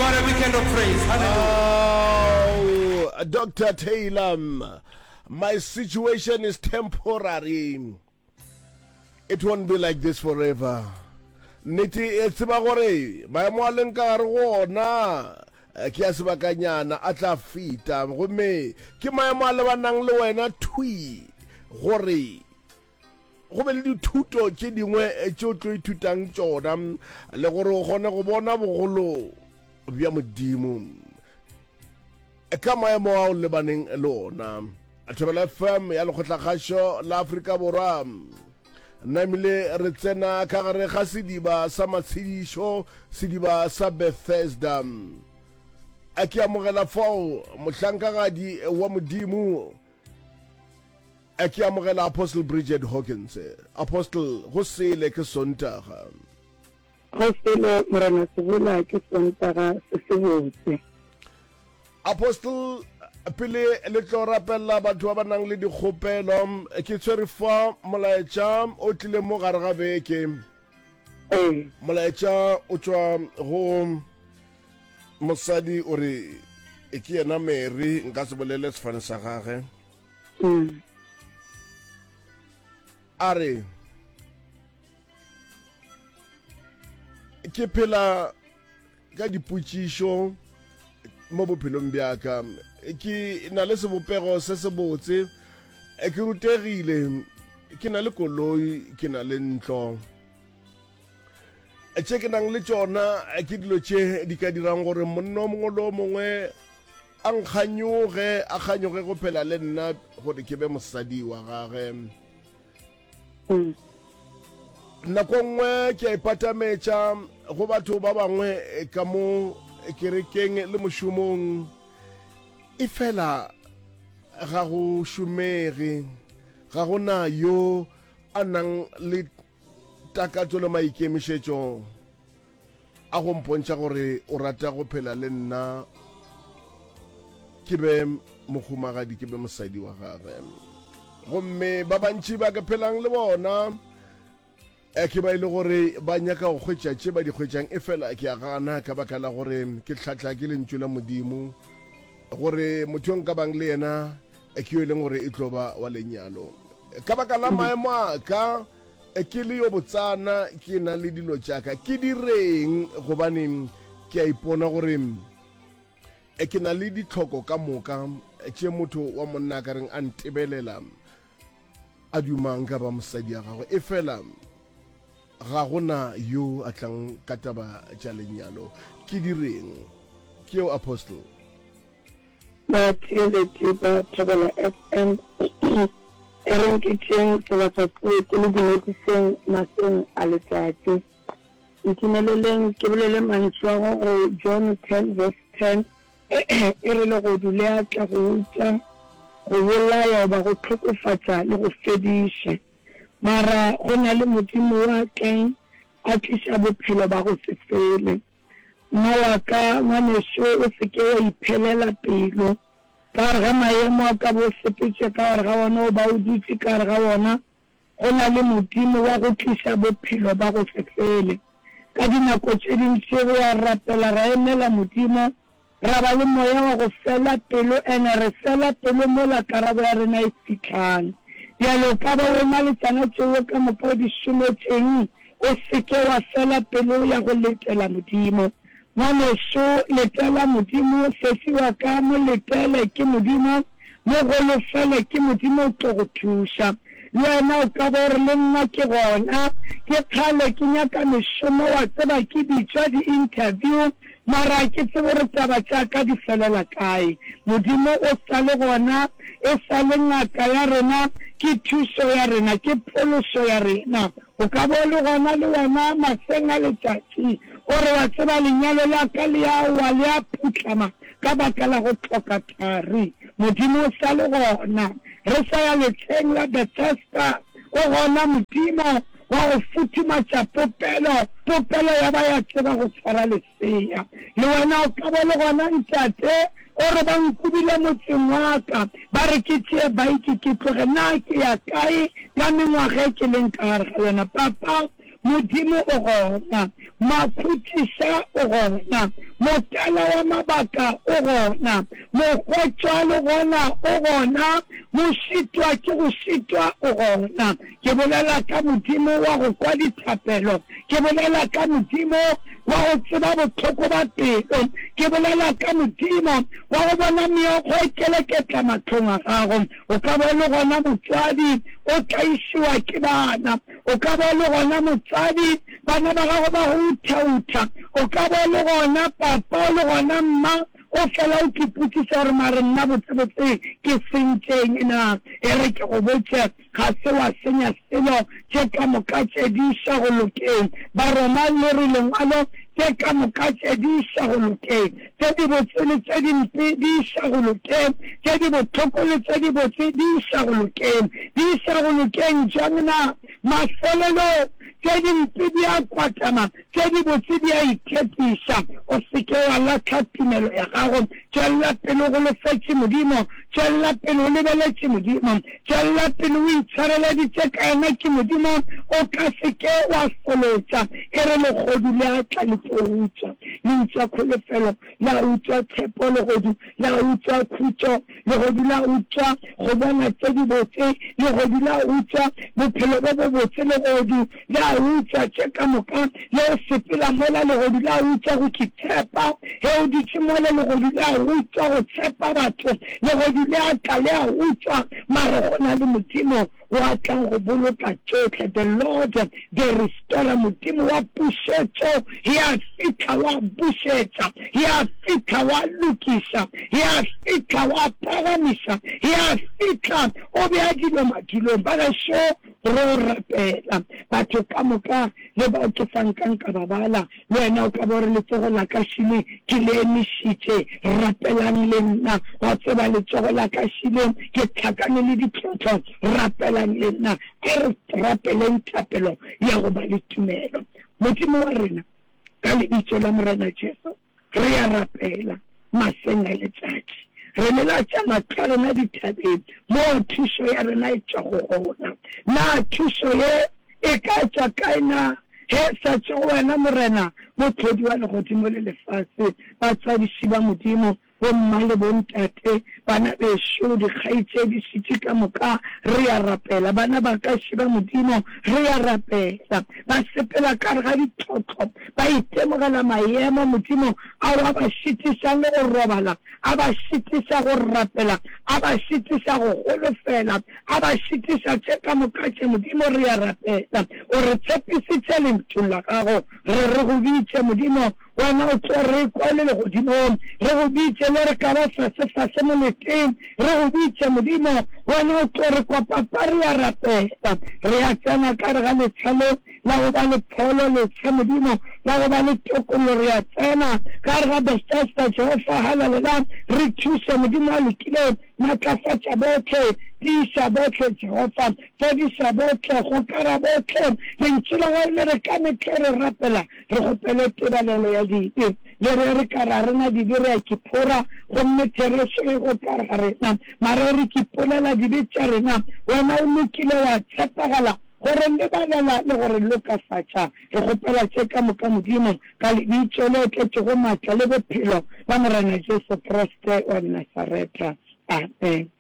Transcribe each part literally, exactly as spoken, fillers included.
God a weekend of praise. Hallelujah. Oh, Doctor Taylor, my situation is temporary. It won't be like this forever. Nnete e tseba gore maemo a leng ka gare go ona eh, ke a sebakanyana a tla feta, gomme ke maemo a lebanang le wena thwi gore go be le dithuto tše dingwe eh, tše o tlo ithutang tšona le gore o kgone go bona bogolo bja Modimo ka maemo ao lebaneng le ona. Thobela F M ya Lekgotlakgašo la Afrika Borwa namile re tsena ka gare ga sediba sa matshedišo, sediba sa Bethesda. A ke amogela fao mohlankagadi wa Modimo, a ke amogela Apostle Bridget Hawkins. Apostle, go sele, ke Sontaga. Go sele, Morena Sebola, ke Sontaga se se botse. Apostle, pele le tlo rapelela batho ba ba nang le dikgopelo, ke tshwere fa molaetša o tlile mo gare ga beke. Ee. Molaetša o tšwa go mosadi, o re e ke yena Mary, nka se bolele sefane sa gage. mm. A re ke phela ka dipotšišo mo bophelong bja ka. Ke na le sebopego se se botse, ke rutegile, ke na le koloi, ke na le ntlo. Tše ke nang le tšona ke dilo tše di ka dirang gore monna o mongwe le o mongwe a nkganyoge, a kganyoge go phela le nna gore ke be mosadi wa gage. Mm. Nako nngwe ke a ipatametša go batho ba bangwe ka mo kerekeng le mošomong, e fela ga go šomege, ga go na yo a nang le takatso le maikemišetšo a go mpontšha gore o rata go phela le nna, ke be mohumagadi, ke be mosadi wa gagwe. Gomme ba bantši ba ke phelang le bona e ke ba e le gore ba nyaka go hwetša tše ba di hwetšang, e fela ke a gana ka baka la gore ke tlhatla ke lentšu la Modimo gore motho yo nka bang le yena ke yo e leng gore e tlo ba wa lenyalo. Ka baka la maemo a ka ke le yo botsana, ke na le dilo tša ka, ke direng? Gobane ke a ipona gore ke na le ditlhoko ka moka tše motho wa monna a ka reng a ntebelela a dumang ka ba mosadi ya gagwe, e fela ga gona yo a tlang ka taba tša lenyalo. Ke direng? Ke eo, Apostle. Batheeletši ba Thobela F M, e reng ke tšeeng sebaka se ke le dumediseng maseng a letšatši. Ntumeleleng ke bolele mantšu a go go John ten verse ten, e re legodu le a tla go utswa, go bolaya goba go hlokofatša le go fediša. Mara go na le Modimo wa tlang a tliša bophelo ba go se fele. Mma wa ka, ngwanešo, o se ke wa iphelela pelo. Ka gare ga maemo a ka bo o sepetše ka gare ga wona goba o dutše ka gare ga wona, go na le Modimo wa go tliša bophelo ba go se fele. Ka dinako tše dintši re a rapela ra emela Modimo, ra ba le moya wa go fela pelo, ene re fela pelo mola karabo ya rena e fihlang. Bjale o ka ba o na le tšona tšeo ka moka o di šometšeng, o se ke wa fela pelo ya go letela Modimo. Ngwanešo, letela Modimo, sesi wa ka, mo letele, ke Modimo, mo golofele, ke Modimo o tlo go thuša. Le wena o ka ba o re le nna ke gona, ke kgale ke nyaka mešomo, wa tseba ke bitšwa di-interview, mara ha ke tsebe gore taba tša ka di felela kae. Modimo o sa le gona, e sa le ngaka ya rena, ke thušo ya rena, ke phološo ya rena. O ka ba o le gona le wena maseng a letšatši, o re wa tseba lenyalo la ka le a wa, le a phuhlama ka baka la go hloka thari. Modimo o sa le gona. Re sa ya letsheng la Bethesda, o gona Modimo wa go futhumatša popelo, popelo ya ba ya tseba go tshwara lesea. Le wena o ka ba le gona, ntate, o re ba nkubile motseng wa ka, ba re ke tšee baiki ke tloge, na ke ya kae ka mengwaga e ke leng ka gare ga yona? Papa, Modimo o gona. Makhutšiša o gona. Motala wa mabaka o gona, mohwetšwa le gona o gona, mošitwa ke go šitwa o gona. Ke bolela ka Modimo wa go kwa dithapelo, ke bolela ka Modimo wa go tseba bohloko ba pelo, ke bolela ka Modimo wa go bona meokgo e keleketla mahlong a gago. O ka ba o le gona motswadi o tlaišiwa ke bana, o ka ba o le gona motswadi bana ba gago ba go uthautha, o ka ba o le gona papa o le gona mma o fela o kipotšiša gore mare nna botsebotse ke sentšeng na. E re ke go botše, ga se wa senya selo, tše ka moka tše di iša go lokeng. Baroma le re lengwalo, tše ka moka tše di iša go lokeng. Tše dibotse le tše dimpe di iša go lokeng, tše di bohloko le tše dibotse di iša go lokeng. Di iša go lokeng jang na? Mafelelong, tše dimpe di a kwatama, tše dibotse di a ithetiša. O se ke wa lahla tumelo ya gago. Tšwella pele o golofetše Modimo. Tšwella pele o lebeletše Modimo. Tšwella pele o itshwareleditše ka yena ke Modimo, o ka se ke wa folotša. E re legodu le a tla le tlo utswa. Le utswa kholofelo, la utswa tshepo, legodu la utswa khutšo, legodu la utswa go bona tše dibotse, legodu la utswa bophelo bo bobotse, legodu la utswa tše ka moka. Le o sepela mola, legodu la utswa go itshepa. Ge o dutše mola, legodu la utswa go tshepa batho. Legodu le a tla le a utswa, mare go na le Modimo wa tlang go boloka tšohle. The Lord, the Restorer, Modimo wa pušetšo, ya fihla wa bušetša, ya fihla wa lokiša, ya fihla wa phagamiša, ya fihla o bea dilo madulong. Ba gešo ro rapela batho ka moka le bao ke sa nkang ka ba bala. Le wena o ka ba o re, Letsogo la ka šile ke le emišitše, rapelang le nna. Wa tseba, letsogo la ka šile ke hlakane le ditlhohlo, rapelang le nna. A re rapeleng thapelo ya go ba le tumelo. Modimo wa rena, ka Lebitso la Morena Jesu, re a rapela maseng a letšatši. Re lelatša mahlo a rena dithabeng moo thušo ya rena e tšwago gona. Na thušo ye e ka tšwa kae? Na ge e sa tšwe go wena, Morena, Mohlodi wa legodimo le lefase? Batswadiši ba Modimo, bomma le bontate, bana bešo, dikgaetšedi, šetše ka moka, re a rapela. Bana ba ka, šiba Modimo, re a rapela. Ba sepela ka gare ga ditlhohlo, ba itemogela maemo, Modimo, ao a ba šitišang le go robala, a ba šitiša go rapela, a ba šitiša go holofela, a ba šitiša tše ka moka tše. Modimo, re a rapela. O re tshepisitše Lentšung la Gago, re re go bitše, Modimo, Wena o tlo re kwa le legodimong, re go bitše le re ka ba fase-fase moleteng, re go bitše, Modimo, wena o tlo re kwa. Papa, re a rapela, re a tsena ka gare ga letsha le la go ba le pholo, letsha, Modimo, la go ba le tokollo, re a tsena ka gare ga Bethesda, Jehofa, halalelang, re thuše, Modimo a lokilego, matlafatša bohle, tiiša bohle, Jehofa, fodiša bohle, gokara bohle. Lentšu la gago le re ka mehla re rapela, re kgopele tebalelo ya dibe. Le re re ka re a re na dibe, re a kiphora, gomme therešo e go ka re ga rena. Mara re kipolela dibe tša rena, wena o lokile wa tshepagala go re lebalela le go re lokafatša. Re kgopela tše ka moka, Modimo, ka Lebitso le tletšego maatla le bophelo la Morena Jesu Kriste wa Nasaretha. Amen.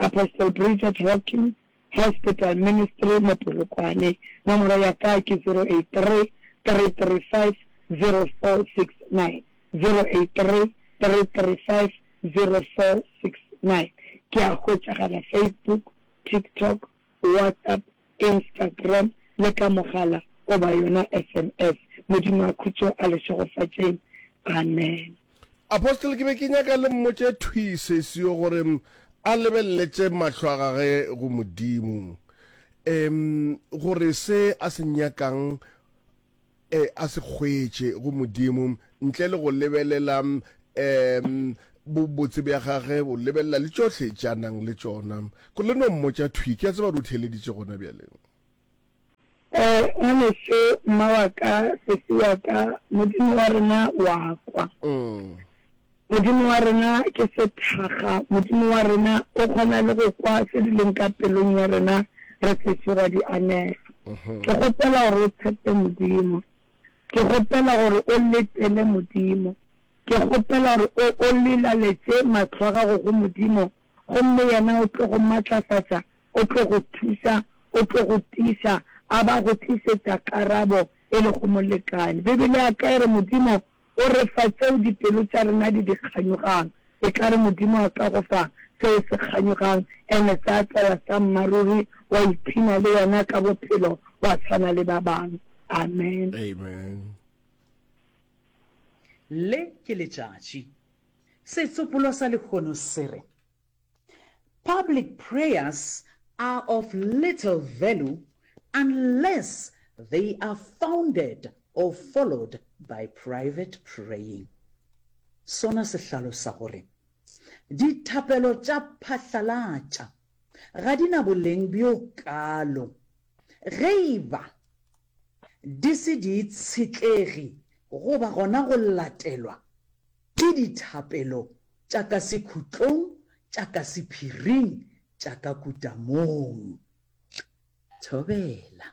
Apostle Bridget Hawkins, Hospital Ministry mo Polokwane. Nomoro ya ka ke zero eight three, three three five, zero four six nine, zero eight three, three three five, zero four six nine. Ke a hwetšagala Facebook, TikTok, WhatsApp, Instagram le ka mogala goba yona S M S. Modimo a khutšo a le šegofatšeng. Amen. Apostle ke be ke nyaka le mmotše thwi sesi yo gore a lebelele tše mahlo a gage go Modimo, um gore se a se nyakang e a se hwetše go Modimo ntle le go lebelela um bobotse bja gage, go lebelela le tšohle tše a nang le tšona. Ko le no mmotša thwi, ke a tseba gore o theeleditše gona bjale. Eh, ngwanešu, mma wa ka, sesi wa ka, Modimo wa rena wa kwa. Mm. Modimo wa rena ke sethakga. Modimo wa rena o kgona le go kwa se di leng ka pelong ya rena re sešo ra di anega. Ke kgopela gore o tshepe Modimo. Ke kgopela gore o letele Modimo. Ke kgopela gore o, o lelaletše mahlo a gago go Modimo, gomme Yena o tlo go matlafatša, o tlo go thuša, o tlo go tiiša, a ba go tlišetša karabo e lego molekane. Bibele ya ka e re Modimo o re fa tseo dipelo tša rena di di kganyogang. E ka re Modimo a ka go fa seo o se kganyogang, ene sa tla sa mmaruri, wa iphina le wena ka bophelo, wa tshwana le ba bang. Amen. Amen. Le ke letšatši. Setsopolwa sa lehono se re, Public prayers are of little value unless they are founded or followed by private praying. Sona se hlalosa gore dithapelo tša phatlalatša ga di na boleng bjo kaalo ge e ba di se di itshetlegi goba gona go latelwa ke dithapelo tša ka sekhutlong, tša ka sephiring, tša ka kutamong. Thobela.